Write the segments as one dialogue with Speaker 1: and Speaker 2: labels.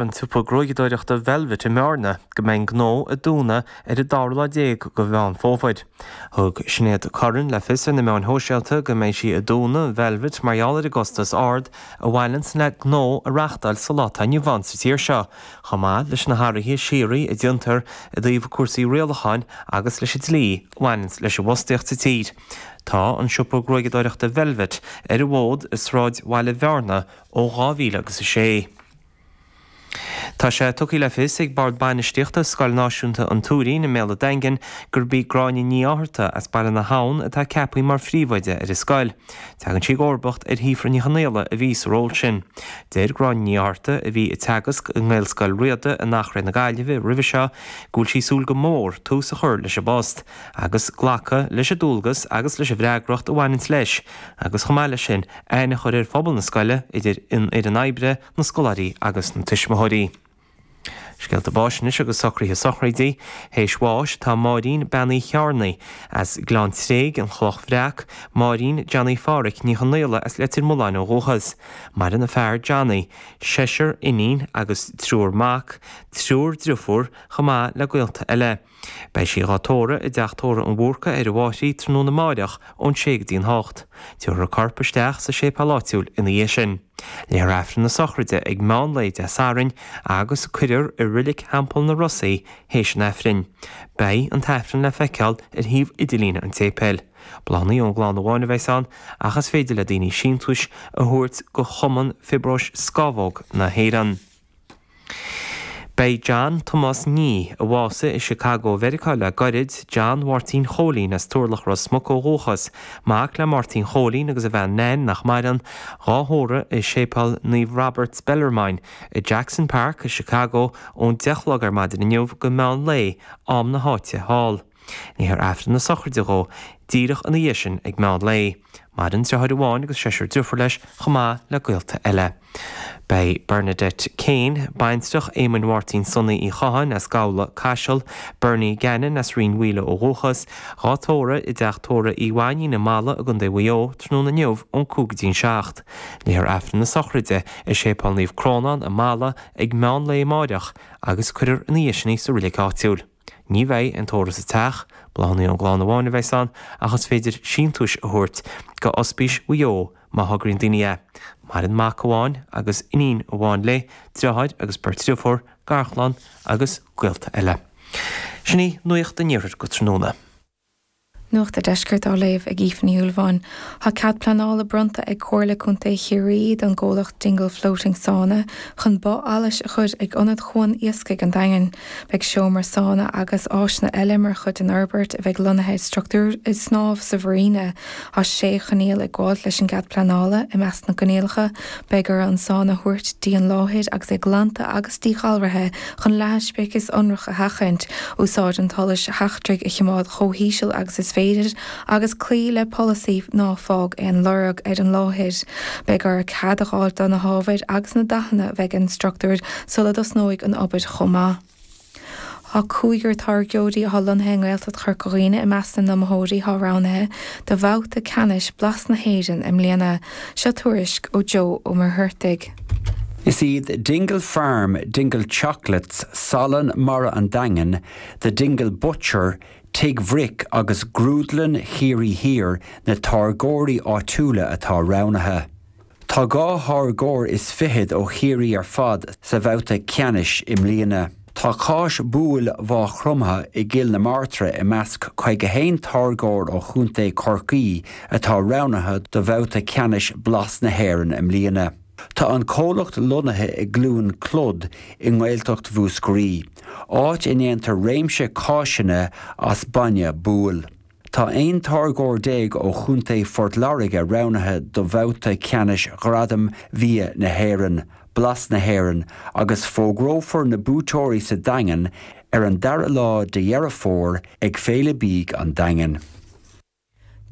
Speaker 1: An tsiopa gruaigeadóireachta Velvet i mBearna go mbeidh an gnó ag dúnadh ar an dara lá déag de Mheán Fómhair. Thug Sinéad Curran le fios ar na meáin shóisialta go mbeidh sí ag dúnadh Velvet mar gheall ar an gcostas ard a bhaineanns le gnó a reachtáil sa lá atá inniu ann sa tír seo, chomh maith leis na hathruithe síoraí a déantar i dtaobh cúrsaí rialacháin agus leis an dlí a bhaineanns leis an bhfostaíocht sa tír. Tá an siopa gruaigeadóireachta Velvet ar an bhfód i sráid bhaile Bhearna ó 2000 agus 6. Tá sé tugtha le fios ag Bord Bainistíochta Scoil Náisiúnta an Tuairín i mBéal an Daingin gurb í Gráinne Ní Fhátharta as Baile na hAbhann atá ceaptha mar phríomhoide ar an scoil. Tagann sí i gcomharbacht ar Shíofra Ní Chonaola a bhí sa ról sin. Deir Gráinne Ní Fhátharta, a bhí ag teagasc i nGaelscoil Riada in Achréidh na Gaillimhe roimhe seo, go bhfuil sí ag súil go mór tús a chur leis an bpost agus glacadh leis an dualgas agus leis an bhfreagracht a bhaineanns leis agus chomh maith leis sin aithne a chur ar phobal na scoile, idir an fhoireann oibre, na scoláirí agus na tuismitheoirí. Scéalta báis anois agus socruithe sochraide. Théis bháis tá Máirín Bean Uí Chearnaigh as Gleann Tréig, An Chloch Bhreac, Máirín Johnny Pháraic Ní Chonaola as Leitir Mealláin ó dhúchas. Maireann a fear Johnny, seisear iníon agus triúr mac, triúr driofúr chomh maith le gaolta eile. Beidh sí dhá tórramh i dTeach Tórraimh an Bhúrcaigh ar an bhFairche tráthnóna amáireach ón sé go dtí an hocht. Tabharfar a corp isteach sa séipéal áitiúil ina dhiaidh sin. Léifear Aifreann na sochraide ag meán lae Dé Sathairn agus cuirfear i Reilig Theampall na Ros í théis an Aifrinn. Beidh an tAifreann le feiceáil ar shuíomh idirlíne an tséipéil. Bláthanna ón gclann amháin a bheas ann ach is féidir le daoine síntiúis a thabhairt go Chumann Fiobróis Scamhóg na hÉireann. Beidh John Tomás Nee, a bhásaigh i Chicago Mheiriceá le gairid, John Mháirtín Chóilín as Turlach Ros Muc ó dhúchas, mac le Máirtín Chóilín agus a bhean Nan nach maireann, dhá thórramh i Séipéal Naomh Roberts Bellarmine i Jackson Park i Chicago ón 10 a chlog ar maidin inniu go meán lae, am na háite thall. Léifear Aifreann na sochraide dhó díreach ina dhiaidh sin ag meán lae. Maireann deartháir amháin agus seisear driofúr leis chomh maith le gaolta eile. Beidh Bernadette Kane, baintreach Éamoinn Mháirtín Sonaí Uí Chatháin as Gabhla, Caiseal, Bernie Gannon as Rinn Mhaoile ó dhúchas, dhá tórramh i dteach tórraimh Uí Mhainín i Mala i gContae Mhaigh Eo tráthnóna inniu ón 5 go dtí an 7. Léifear Aifreann na sochraide i Séipéal Naomh Crónán i Mala ag meán lae amáireach agus cuirfear ina dhiaidh sin í sa reilig áitiúil. Ní bheidh aon tórramh sa teach, bláthanna ón gclann amháin a bheas ann ach is féidir síntiúis a thabhairt go Ospís Mhaigh Eo má thograíonn daoine é. Maireann mac amháin agus iníon amháin léi, deartháir agus beirt driofúr, garchlann agus gaolta eile. Sin í Nuacht an Iarthair go tráthnóna.
Speaker 2: Nuacht a' Deiscirt á léamh ag Aoife Ní Shúilleabháin. Tá cead pleanála bronnta ag Comhairle Contae Chiarraí don gcomhlacht Dingle Floating Sauna chun both allais a chur ag Ionad Chuan Iascaigh an Daingin. Beidh seomra sána agus áiseanna eile mar chuid den fhorbairt a bheidh lonnaithe i struchtúr snámh sa mharina. Tá sé choinníoll ag gabháilt leis an gcead pleanála. I measc na gcoinníollacha, beidh orthu an sána a thabhairt dtí an láthair agus é glanta agus díghalraithe chun leathadh speiceas ionrach a sheachaint, úsáid an tsolais sheachtraigh a choimeád chomh híseal agus is féidir, agus cloí le polasaí 'ná fág aon lorg' ar an láthair. Beidh orthu cead a fháil do na hábhair agus na dathanna a bheidh ar an struchtúr sula dtosnóidh an obair chomh maith. Tá cúigear táirgeoirí atá lonnaithe i nGaeltacht Chorca Dhuibhne i measc na n-iomaitheoirí atá roghnaithe do bhabhta ceannais Blas na hÉireann i mbliana. Seo tuairisc ó Joe Ó Muircheartaigh.
Speaker 3: Is iad Dingle Farm, Dingle Chocolates, Salann Mara an Daingin, The Dingle Butcher, Tigh Bhric agus Grúdlann Chiarraí Thiar na táirgeoirí áitiúla atá roghnaithe. Tá dhá tháirgeoir is fichead ó Chiarraí ar fad sa bhabhta ceannais i mbliana. Tá Cáis Buail Mhaigh Chromtha i gCill na Martra i measc 51 táirgeoir ó Chontae Chorcaí atá roghnaithe do bhabhta ceannais Blas na hÉireann i mbliana. Tá an comhlacht lonnaithe i gCluain Clod i nGaeltacht Mhúscraí, áit a ndéantar réimse cáiseanna as bainne buail. Tá 11 táirgeoir ó Chontae Phort Láirge roghnaithe do bhabhta ceannais Ghradaim Bhia na hÉireann, Blas na hÉireann, agus fógrófar na buaiteoirí sa Daingean ar an dara lá de Dheireadh Fómhair ag Féile Bídh an Daingin.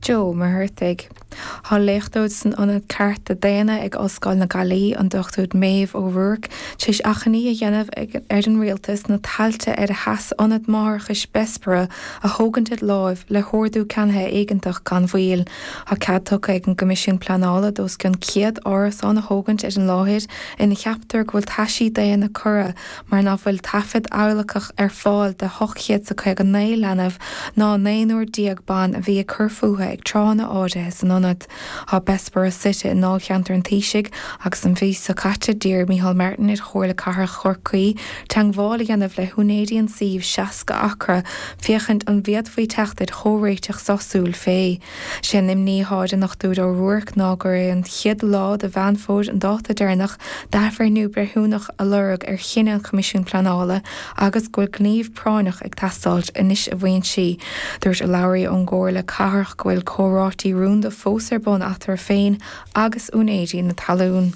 Speaker 2: Joe Ó Muircheartaigh. Tá léachtóir san Ionad Cearta Daonna ag Ollscoil na Gaillimhe, an Dr Maeve O'Rourke, tar éis achainí a dhéanamh ar an Rialtas na tailte ar a sheas Ionad Máithreachais Bessborough a thógaint de láimh le hordú ceannaithe éigeantach gan mhoill. Tá cead tugtha ag an gCoimisiún Pleanála d'os cionn 100 árasán a thógaint ar an láthair ina cheaptar go bhfuil taisí daonna curtha mar ná fuil taifead adhlacach ar fáil de 859 leanbh ná naonúr ban a bhí ag cur fúthu ag tráthanna áirithe san ionad. Tá Bessborough suite i ndáilcheantar an Taoisigh agus an mhí seo caite d'iarr Micheál Martin ar Chomhairle Cathrach Chorcaí teagmháil a dhéanamh le húinéirí an tsuímh 60 acra féachaint an bhféadfaí teacht ar chomhréiteach sásúil fé. Sé an imní atá ar an Dr O'Rourke ná gur é an chéad lá de Mheán Fómhair an dáta deireanach d'athbhreithniú breithiúnach a lorg ar chinneadh an Choimisiúin Pleanála agus go bhfuil gníomh práinneach ag teastáilt anois a mhaíonn sí. Dúirt urlabhraí ón gComhairle Cathrach go bhfuil comhráití rúnda fós ar bun eatarthu féin agus úinéirí na talún.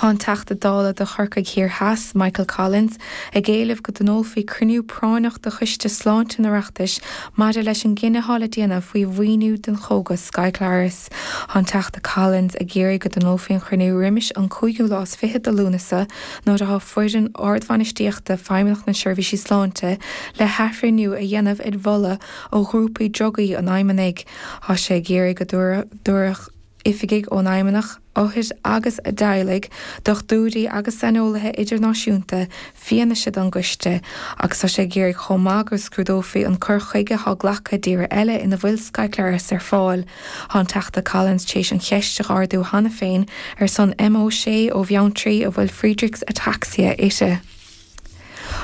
Speaker 2: Tá an Teachta Dála do Chorcaigh Thiar Theas, Michael Collins, ag éileamh go dtionólfaí cruinniú práinneach de Choiste Sláinte an Oireachtais maidir leis an gcinneadh atá le déanamh faoi mhaoiniú don chógas Skyclarys. Tá an Teachta Collins ag iarraidh go dtionólfaí an chruinniú roimis an cúigiú lá is fichead de Lúnasa nuair atá foireann ardbhainistíochta Feidhmeannacht na Seirbhísí Sláinte le hathbhreithniú a dhéanamh ar mholadh ó ghrúpaí drugaí an Fheidhmeannaigh. Tá sé ag iarraidh go dtabharfadh oifigigh ón Fheidhmeannacht, othair agus a dteaghlaigh, dochtúirí agus saineolaithe idirnáisiúnta fianaise don gcoiste agus tá sé ag iarraidh chomh maith go scrúdófaí an cur chuige atá glactha i dtíortha eile ina bhfuil Skyclarys ar fáil. Tá an Teachta Collins tar éis an cheist a ardú cheana féin ar son Emma O'Shea ó Bheanntraí a bhfuil Friedreich's Ataxia uirthi.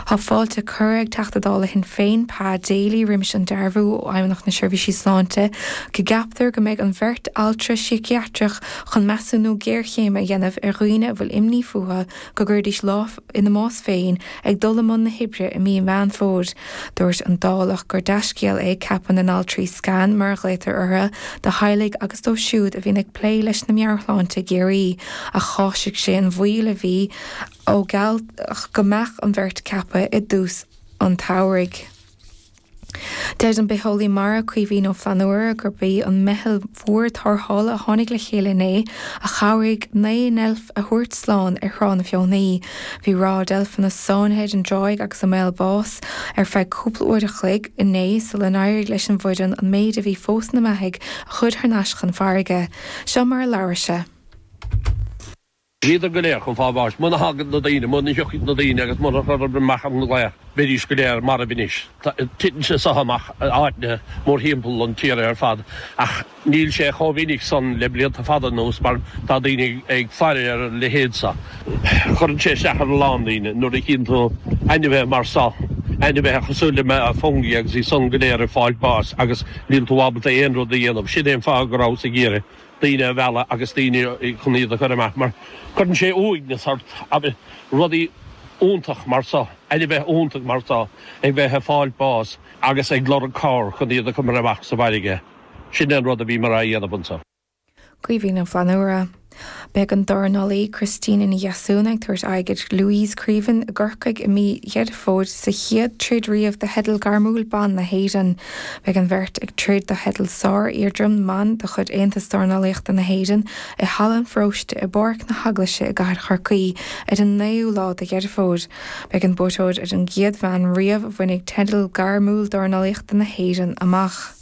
Speaker 2: Tá fáilte curtha ag Teachta Dála Shinn Féin, Pa Daly, roimis an dearbhú ó Fheidhmeannacht na Seirbhísí Sláinte go gceaptar go mbeidh an bheirt altra síciatrach chun measúnú géarchéime a dhéanamh ar dhaoine a bhfuil imní fúthu go gcuirfidís lámh ina mbás féin ag dul i mbun na hoibre i mí Mheán Fómhair. Dúirt an Dálach gur dea-scéal é ceapadh na n-altraí scan, mar a ghlaotar orthu, do theaghlaigh agus dóibh siúd a bhíonn ag plé leis na meabhairshláinte i gCiarraí, ach cháisigh sé an mhoill a bhí ó gealladh go mbeadh an bheirt ceaptha i dtús an tsamhraidh. Deir an bitheolaí mara Caoimhín Ó Flannúra gurb í an meitheal mhór tarrthála a tháinig le chéile inné a chabhraigh 9 ndeilf a thabhairt slán ar Thrá na Feothanaí. Bhí ráth deilfeanna sáinnithe ar an dtráigh agus i mbaol báis ar feadh cúpla uair a chloig inné sula n-éirigh leis an bhfoireann an méid a bhí fós ina mbeathaigh a chur thar n-ais chun farraige. Seo mar a labhair sé.
Speaker 4: Bhíodar go léir chun fáil bháis. Muna thagann na daoine, muna dtiocfaidh na daoine agus muna chuireadar amach an glaoch, bheidís go léir marbh anois. Titeann sé so amach i áiteanna mórthimpeall an tíre ar fad ach níl sé chomh minic san le blianta fada anuas mar tá daoine ag faire ar a leithéid so. Cuireann sé isteach ar a lán daoine nuair a chíonn tú ainmhithe mar so, ainmhithe cosúil le fungie agus iad san go léir ag fáil báis agus níl tú ábalta aon rud a dhéanamh. Sin é an fáth go rabhas ag iarraidh. daoine a mhealladh agus daoine chun iad a chur amach mar cuireann sé uaigneas ort agus rudaí iontach mar so, ainmhithe iontach mar so ag bheith ag fáil bás agus ag lorg cabhair chun iad a chur amach sa bhfarraige. Sin é an rud a bhíomar á dhéanamh anso.
Speaker 2: Caoimhín Ó Flannúra. Beidh an dornálaí Christina Ní Dheasúna ag tabhairt aghaidh ar Louise Creaven i gCorcaigh i mí Dheireadh Fómhair sa chéad troid riamh do theideal gairmiúil ban na hÉireann. Beidh an bheirt ag troid do theideal sár-iardream mban de chuid Aontas Dornálaíochta na hÉireann i Halla an Pharóiste i bPáirc na hEaglaise i gCathair Chorcaí ar an 9ú lá de Dheireadh Fómhair. Beidh an buaiteoir ar an gcéad bhean riamh a bhainfidh teideal gairmiúil dornálaíochta na hÉireann amach.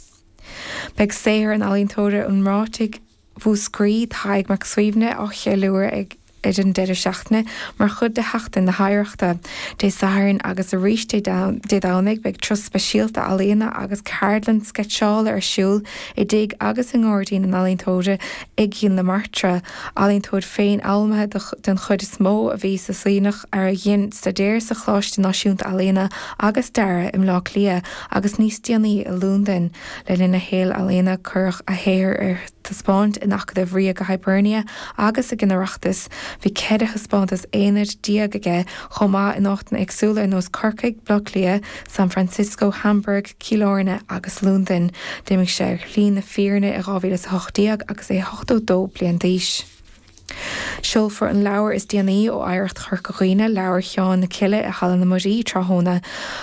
Speaker 2: Beidh saothar an ealaíontóra iomráitigh Mhúscraí, Tadhg Mac Suibhne, á cheiliúradh ag ar an deireadh seachtaine mar chuid de Sheachtain na hOidhreachta. Dé Sathairn agus arís Dé Domhnaigh beidh turas speisialta ealaíona agus ceardlann sceitseála ar siúl i dtigh agus i ngairdín an ealaíontóra i gCill na Martra. Ealaíontóir féinfhoghlamtha den chuid is mó a bhí sa Suibhneach a dhein staidéar sa Choláiste Náisiúnta Ealaíona agus Dearaidh i mBleá Cliath agus níos déanaí i Londain. Le linn a shaoil ealaíona cuireadh a shaothar ar taispeáint in Acadamh Ríoga Hibernia agus ag an Oireachtas. Bhí 14 thaispeántas aonair aige chomh maith in áiteanna éagsúla ar nós Corcaigh, Baile Átha Cliath, San Francisco, Hamburg, Cill Airne agus Londain. D'imigh sé ar shlí na fírinne i 2018 agus é 82 bliain d'aois. Seolfar an leabhar is déanaí ó Oidhreacht Chorca Dhuibhne, Leabhar Sheáin na Cille i Halla na Muirí tráthnóna.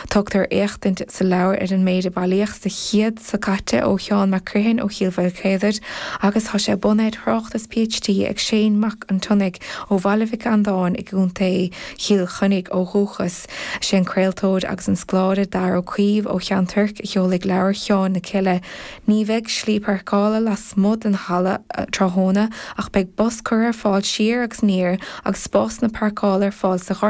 Speaker 2: Tugtar éachtaint sa leabhar ar an méid a bailíodh sa chéad seo caite ó Sheán Mac Criomhthain ó Chill Mhaoilchéadair agus tá sé bunaithe ar thráchtas PhD ag Shane Mac an tSionnaigh ó Bhaile Mhic Andáin i gContae Chill Chainnigh ó dhúchas. Is é an craoltóir agus an scoláire Darragh Ó Caoimh ó Cheann Toirc a sheolfaidh Leabhar Sheáin na Cille. Ní bheidh slí páirceála lasmuigh den halla tráthnóna ach beidh bus curtha ar fáil siar agus aniar agus spásanna páirceála ar fáil sa ghort.